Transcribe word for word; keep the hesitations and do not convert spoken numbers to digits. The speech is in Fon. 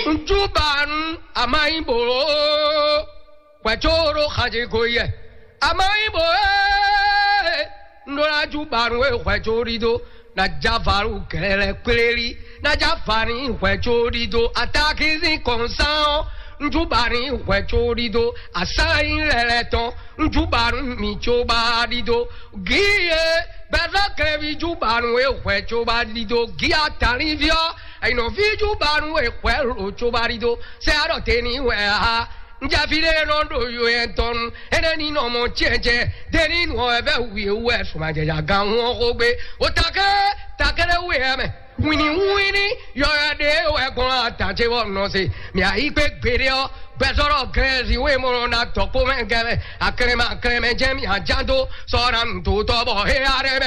Ŋjúbanu, a ma nyí bǒ hwɛ̌ có ɖó xaje ko yɛ. A ma nyí bǒ é, un ɖó ná júbanu e hwɛ̌ có ɖidó, ná já valu gɛlɛ kpléli, ná já va ní hwɛ̌ có ɖidó. Atakínsín kɔnsán ɔ́, ŋjúbanu hwɛ̌ có ɖidó. Asá nyí lɛlɛ tɔn, ŋjúbanu mi có ba ɖidó. Gǐ e gbɛzɔ́ kɛnɛví júbanu e hwɛ̌ có ba ɖidó. Gǐ ataliví ɔ́, Ɛnɔví júbanu e hwɛ lo tso ba ɖi do sɛ aɖɔ te ní wɛ ha. Njaví ɖé nɔ ɖo yo yɛ tɔn nu, énɛ́ ní nɔ mɔ cɛ́cɛ́, ɖé ní nɔ wɛ vɛ wǐ wɛ sumajɛja gan hu ɔ́ xó gbé. O takɛ takɛ ɖé wú yɛ mɛ. Wini wini yɔyɔ ɖe wɛ gbɔn ata ce bɔ nɔ se. Mɛ ayi kpe gbeɖe ɔ, gbɛzɔrɔ gɛrɛzi wo emɔ na tɔ kpó mɛ gɛ mɛ. Aklɛmɛ aklɛmɛ jɛ mi ajan do sɔ na nu to tɔ bɔ he aɖe mɛ.